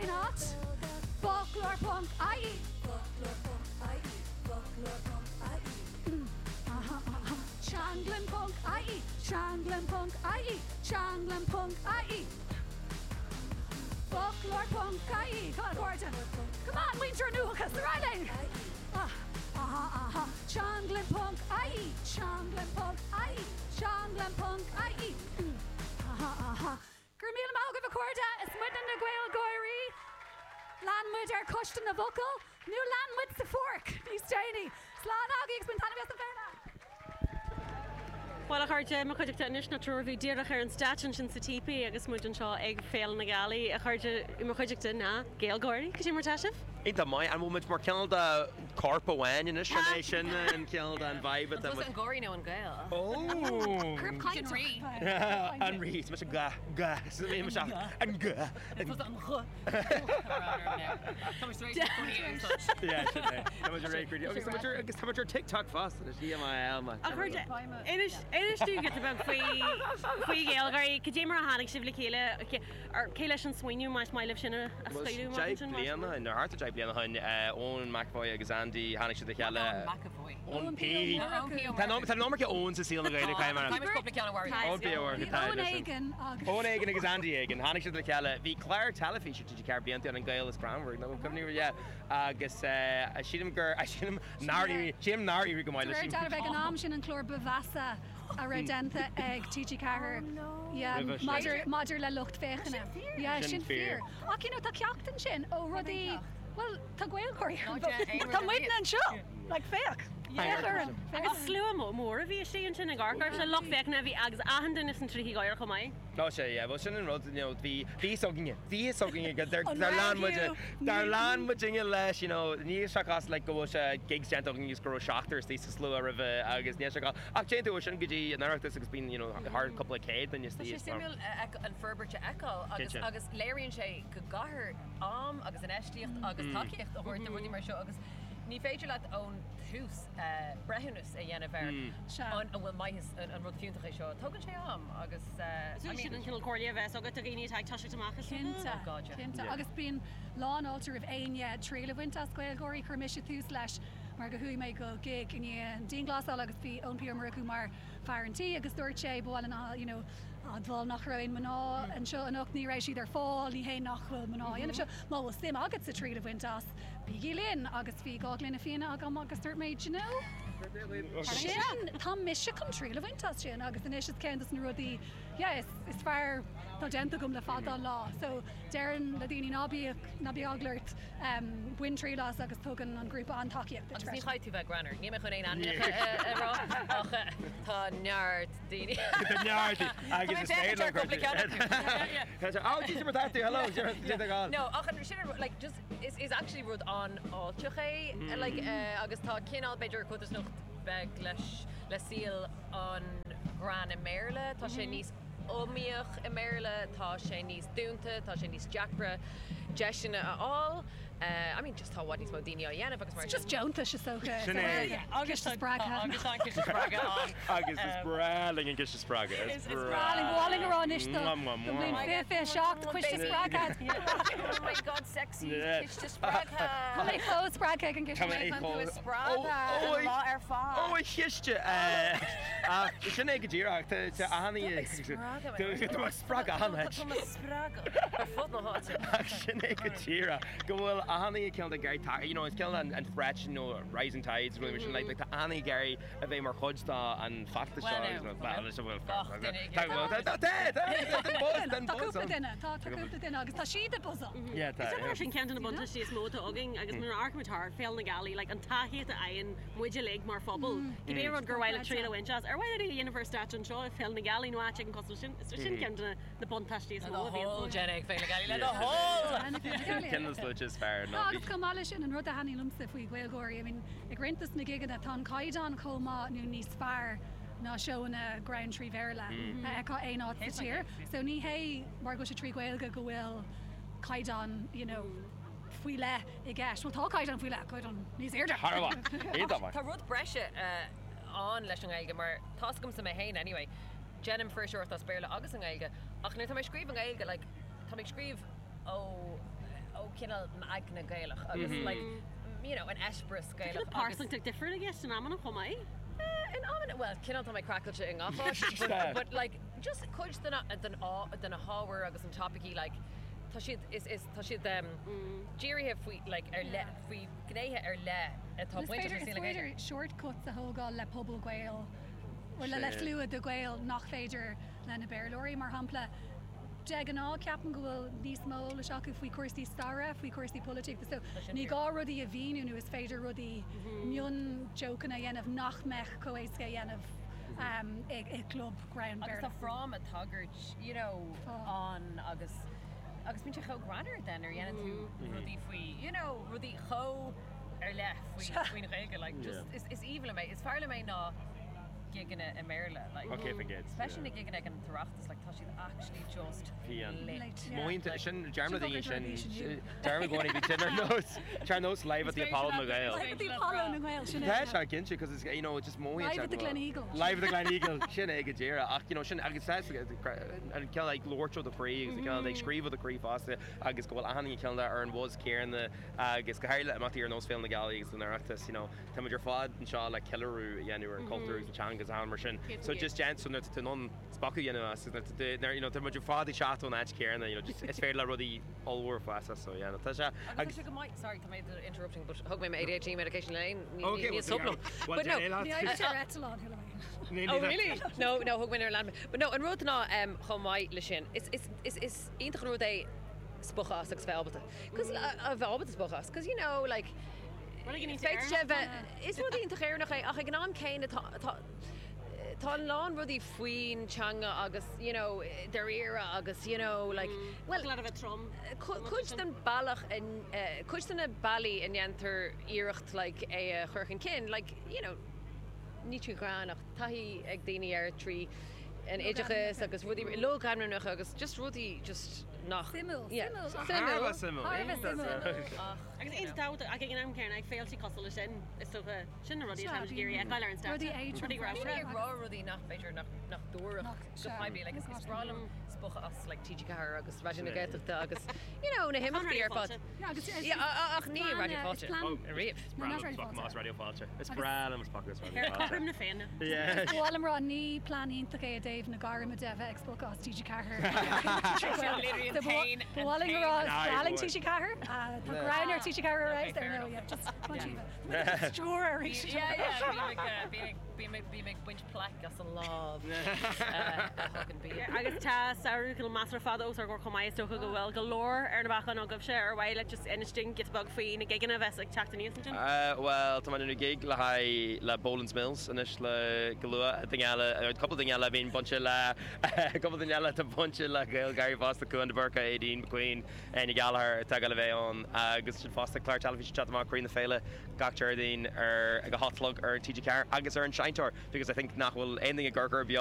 Cén áit? Foclóir ponc ie. Foclóir ponc ie. Foclóir ponc ie. Aha aha. Teanglann ponc ie. Teanglann ponc ie. Teanglann ponc ie. Foclóir ponc ie. Come on, a chairde. Come on, muintir an uathachais, ar aghaidh linn! Ah, aha aha. Teanglann ponc ie. Teanglann ponc ie. Teanglann ponc ie. Aha aha. Go raibh míle maith agaibh a chairde, is muidne na GaelGáirí. Lean muid ar Coiste na bhFocal, nó lean muid sa pháirc níos déanaí. Slán agaibh agus bain taitneamh as an bhféile! Bhuel a chairde, mo chuideachta anois ná triúr a bhí díreach ar an stáitse ansin sa Típí agus muid anseo ag Féile na Gealaí. A chairde, i mo chuideachta ná GaelGáirí. Cad é mar atá sibh? Iontach maith. An bhfuil muid mar cineál de corp amháin anois? An é sin an cineál de an vibe atá An tusa an gáirí nó an Gael? Ó! Corp Sin rí. An rí. Is mise ga, ga. Is mise an ga. An tusa an gh. Tá muid tar éis na cónaí a úsáid. Yeah, sin é. Tá muid ar réidh Agus tá muid ar agus tá muid ar TikTok fosta. Tá muid. A chairde, inis inis dúinn giota beag faoi faoi GaelGáirí. Cad é mar a tháinig sibh le chéile? Cé leis an smaoineamh más maith libh sin a scaoileadh amach ansin? 10 bliana ó shin, nó thart ar 10 bliana ó shin, Eoin McEvoy agus Andy, tháinig siad le chéile. Eoin McEvoy. Eoin P. Tá an iomarca Eoin sa saol na Gaeilge, caithfidh mé a rá. Tá cúpla ceann a mharaigh. Eoin P. Ó Murchú, tá Eoin éigin agus. Eoin éigin agus Andy éigin. Tháinig siad le chéile. Bhí clár teilifíse TG4 blianta ann, An Gael is Greannmhar, nó cuimhním, yeah. Agus sílim gur, sílim nár éirigh, sílim nár éirigh go maith De leis. réir dealraimh ag an am sin an clár ba mheasa a raibh déanta ag TG4 yeah, Roimhe sin. maidir, maidir le lucht féachana. Yeah, Sin sin fíor. fíor. Ach you know, tá ceacht ansin ó rudaí, bhuel, tá GaelGáirí Ná déan aon rud Tá ar muidne bith. anseo! Like, féach! Féach orainn! Agus slua mór a bhí istigh ansin ag amharc air, lucht féachana a bhí agus achan duine sna trithí gáire chomh maith. Tá sé, yeah, bhuel sin an rud, you know, bhí, bhí fhios againne, bhí fhios againne go, dar, An dar lean raibh muid, you? dar lean muidinne leis, you know, níl sé cás like go bhfuil sé gigs déanta againn agus go raibh seachtar istigh sa slua roimhe agus níl sé cás, ach téann tú ó sin go dtí an Oireachtas agus bíonn, you know, thar cúpla céad duine Tá istigh sé is mar. suimiúil a fheic, an forbairt a fheiceáil agus, Cinnte. agus léiríonn sé go gcaithfear am agus infheistíocht agus tacaíocht a thabhairt do rudaí mar seo agus ní féidir leat ón tús breithiúnas a dhéanamh ar an bhfuil maitheas, an rud fiúntach é seo. Tógann sé am agus I Sin mean. an cineál comhairle a bheas agat do dhaoine atá ag toiseacht amach is Cinnte, Oh God, yeah. cinnte. Agus bíonn lánfháilte roimh éinne triail a bhaint as GaelGáirí. Chuir mise tús leis mar go chuaigh mé go gig i ndiaidh an dianghlasáil agus bhí Eoin P Ó Murchú mar fear an tí agus dúirt sé ba mhaith linn you know admháil nach raibh aon mná anseo anocht, ní raibh siad ar fáil, ní hé nach bhfuil mná á dhéanamh seo, má bhfuil suim agatsa triail a bhaint as, bígí linn! Agus bhí 2 ghloine fíona agam agus dúirt mé, do you know, sin, tá mise chun triail a bhaint as sin agus anois is ceann dos na rudaí, yeah, is, is fearr atá déanta agam le fada an lá. So, déarfainn le daoine ná bíodh, ná bíodh eagla ort, bain triail as agus tugann an grúpa an-tacaíocht duit Agus ní freisin. chaithfidh tú bheith greannmhar, níl mé chun aon ainmneacha a rá ach tá neart daoine. Tá neart agus is féidir le cúpla ceann acu. Oh, Jesus, mar tá tú, hello, Dé do No, ach an sin like just is is actually rud an-fháilteach é like agus tá cineál b'fhéidir codarsnacht beag leis le saol an ghreann i mBéarla, tá sé níos iomaíoch i mBéarla, tá sé níos dúnta, tá sé níos deacra deiseanna a fháil. I mean just tá i bhfad níos mó daoine á dhéanamh agus mar It's just deontais is dócha. Sin é. Agus ciste spreagtha. Agus tá an ciste spreagtha ann. Agus is breá linn an ciste spreagtha. Is breá linn. Ba mhaith linn a rá anois do don bhliain 2027 coiste spreagtha. Oh my god sexy ciste spreagtha. Tá mé chomh spreagtha ag an gciste. Tá mé chun tú a spreagadh an lá ar fad. Ó a chiste! Ach sin é go díreach. Tá achan oíche. Tá mé ag spreagadh achan áit. Tá mé ag spreagadh ar fud na háite. Ach sin é go díreach go bhfuil achan duine cineál ag iarraidh taca, you know, is cineál an an threat sin nó rising tides nó rudaí mar sin, like, like tá achan duine ag iarraidh a bheith mar chuid de an feachtas seo Well, agus no, well, is bhfuil gach duine ag Tá iarraidh. tá tá tá tá buzz tá Tá buzz cúpla ann. duine, tá tá cúpla duine agus tá siad ag buzzáil. Yeah, tá. Is dócha gur sin ceann de na buntáistí is mó atá againn agus nuair a amharcaimid thart, Féile na Gealaí, like, an tacaíocht a fhaigheann muid uilig mar phobal, cibé rud gur mhaith leat triail a bhaint as, ar mhaith leat é a dhéanamh ar stáitse anseo i Féile na Gealaí nó áit éigin cosúil leis sin, is sin ceann de na buntáistí is mó a bhíonn. Le do thoil, déan é ag Féile na Gealaí, le do thoil! Ceann de na sluaite is fearr ná Agus chomh maith leis sin, an rud a thaitníonn liomsa faoi Ghaelgáirí, I mean, ag roinnt dos na gigeanna, tá an caighdeán chomh maith nó níos fearr ná seóanna greann trí Bhéarla a fheiceá aon áit sa tír. So ní hé mar go bhfuil sé trí Ghaeilge go bhfuil caighdeán, you know, faoi leith i gceist. Bhuel, tá caighdeán faoi leith, caighdeán níos airde. Thar a bheith. Iontach maith. Tá rud breise ann leis an nGaeilge mar tá's agamsa mé féin anyway, déanaim fuirseoireacht as Béarla agus i nGaeilge ach nuair atá mé ag scríobh i nGaeilge like tá mé ag scríobh ó ó cineál m'aigne Gaelach agus like you know an eispéireas Gaelach agus. Pearsantacht difriúil i gceist in amanna chomh maith. In amanna, bhuel cineál tá mé craiceáilte i ngach áit but like just cuid de na den de na hábhair agus an topaicí like tá siad is is tá siad dírithe faoi like ar leith faoi gnéithe ar leith atá bainteach le saol na Gaeilge. Is féidir shortcuts a thógáil le pobal Gael le le slua de Ghaeil nach féidir le na Béarlóirí mar shampla. De ghnáth, ceapaim go bhfuil níos mó eolais acu faoi chúrsaí staire, faoi chúrsaí polaitíochta so ní gá rudaí a mhíniú nó is féidir rudaí, mion-jokeanna a dhéanamh nach mbeadh chomh éasca a dhéanamh i gclub greann Agus Béarla. tá fráma tagairt you know ann agus agus bíonn sé chomh greannmhar then nuair a dhéanann tú rudaí faoi you know rudaí chomh ar leith faoi faoin Ghaeilge like just is is aoibhinn liom é is fearr liom é ná gigeanna i mBéarla like Okay, forget. especially na gigeanna ag an tOireachtas like tá siad actually just lit. Mothaíonn sin dearmad daoine sin dearmad go bhí sin ar nós ar nós live at the Apollo na Gael. Live at the Apollo na nGael sin é. Tá sé cinnte cos it's you know just mothaíonn Live at the Gleneagle. Live at the Gleneagle sin é go díreach ach you know sin agus tá an cineál like labhairt ó do chroí agus an cineál like scríobh ó do chroí fosta agus go bhfuil achan duine cineál ar an buzz céanna agus go háirithe imeachtaí ar nós Féile na Gealaí agus an Oireachtas you know tá muid ar fad anseo le ceiliúradh a dhéanamh ar an cultúr agus an teanga agus achan mar sin. So just déan so nuair atá tú in ann spochadh a dhéanamh as nuair atá tú nuair you know tá muid ar fad ag teacht ón áit chéanna you know just is féidir le rudaí ollmhór fás as so yeah no tá sé Agus tá sé go maith sorry tá mé interrupting but thug mé m'ADHD medication le aon ní Okay, níl well, stop liom. well, But no déan é leat. Ní fhaigheann sé ar eitleán thuilleadh. Oh really? No no thug mé nuair a lean mé. But no an rud ná um, chomh maith le sin is is is is iontach an rud é spochadh as agus bheith ábalta. Cos a bheith ábalta spochadh as cos you know like Féadfaidh sé bheith, is rud iontach Éireannach é ach ag an am céanna tá, tá, tá a lán rudaí faoin teanga agus you know dáiríre agus you know like bhuel cuid den bealach a, cuid de na bealaí a ndéantar iarracht like é a chur chun cinn like you know ní trí ghreann ach taithí ag daoine air trí an oideachas agus rudaí logainmneacha agus just rudaí just nach Suimiúil, yeah suimiúil. Thar a bheith suimiúil. Thar a bheith suimiúil. Agus iontach tábhachtach ach ag an am céanna ag féilte cosúil leis sin, is dócha, sin na rudaí atá muid ag iarraidh a fheiceáil ar an stáitse. Rudaí éadrom. Rudaí Daoine ramhra. ag rá rudaí nach b'fhéidir nach nach dtabharfadh go poiblí like is is breá liom spochadh as like TG4 agus Raidió na Gaeltachta agus you know na himeachtaí ar fad. Yeah, agus is- Yeah, ach ní is Raidió plean, Fáilte. is plean- Oh, Ariamh. Is No, breá not liom Raidió spochadh Fáilte. as Raidió Fáilte. Is breá liom spochadh as Raidió Ar Fáilte. cothrom na Féinne. Yeah. Ba mhaith liom rá ní plean iontach é i dtaobh na gairme de bheith ag spochadh as TG4. Literally an t-aon- Ba mhaith liom a rá is Aye, breá linn boy. TG4. Tá greann ar TG4 ar fheabhas ar ndóigh, yeah, just come on Síomha. Stiúir arís. Yeah, yeah, bím ag, eh, bím ag, bím ag, bím ag baint plaic as an lámh eh, a thugann bia. Agus tá samhradh cineál measartha fada os ár gcomhair chomh maith, is dócha go bhfuil go leor ar na bacáin agaibhse ar mhaith leat just inis dúinn giota beag faoi na gigeanna a bheas ag teacht aníos ansin. Bhuel, tá mé ag déanamh gig le haghaidh le Boland's Mills anois le go luath. Duine eile, cúpla duine eile a bhíonn bainte le cúpla duine eile atá bainte le GaelGÁIRÍ fosta, Cuan de Búrca, Aideen McQueen, Áine Gallagher atá ag dul a bheith ann agus sin fosta clár teilifíse ag teacht amach Croí na Féile gach Déardaoin ar ag a hocht a chlog ar TG4 agus ar an Seinnteoir because I think nach bhfuil aon duine ag amharc air beo.